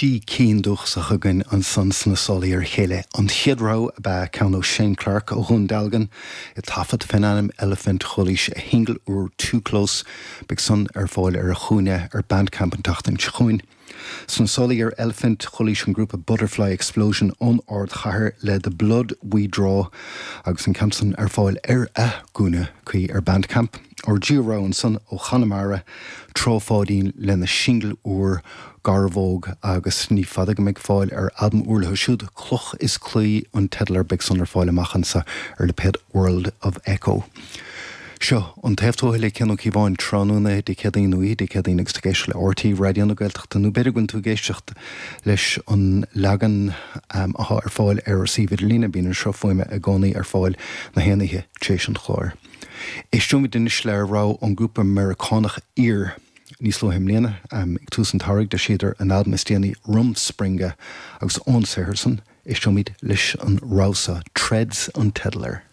Trí cinn dúchasach againn ansan sna sálaí ar a chéile. An chéad rogha ab ea ceann ó Shane Clark ó Dhún Dealgan, i dtaifead fén ainm Elephant. Chualaís a shingil úr Too Close. Beidh san ar fáil ar a chúinne ar Bandcamp an tseachtain seo chugainn. Sna sálaí ar Elephant, chualaís an grúpa Butterfly Explosion ón ardchathair le The Blood We Draw agus an ceann san ar fáil ar a gcúinne cuí ar Bandcamp. Ár dtríú rogha ansan ó Chonamara, Trá Pháidín lena singil úr Garbhóg agus ní fada go mbeidh fáil ar albam úr leo siúd, Cloch is Claí an teideal air, beidh san ar fáil amach anso ar lipéad World of Echo. Seo An Taobh Tuaithe le Cian Ó Cíobháin tráthnóna Dé Céadaoin nó oíche Dé Céadaoin agus tú ag éisteacht le RTÉ Raidió na Gaeltachta nó b'fhéidir go bhfuil tú ag éisteacht leis an leagan atá ar fáil ar ár suíomh idirlíne, bíonn an sruth fuaime i gcónaí ar fáil na haon oíche tar éis an chláir. Éisteoimid anois le rogha ón ngrúpa Meiriceánach Ear. Níos luaithe i mbliana, ag tús an tsamhraidh, d'eisíodar a n-albam is déanaí Rumspringa agus ón saothar san, éisteoimid leis an rogha seo, Treads an teideal air.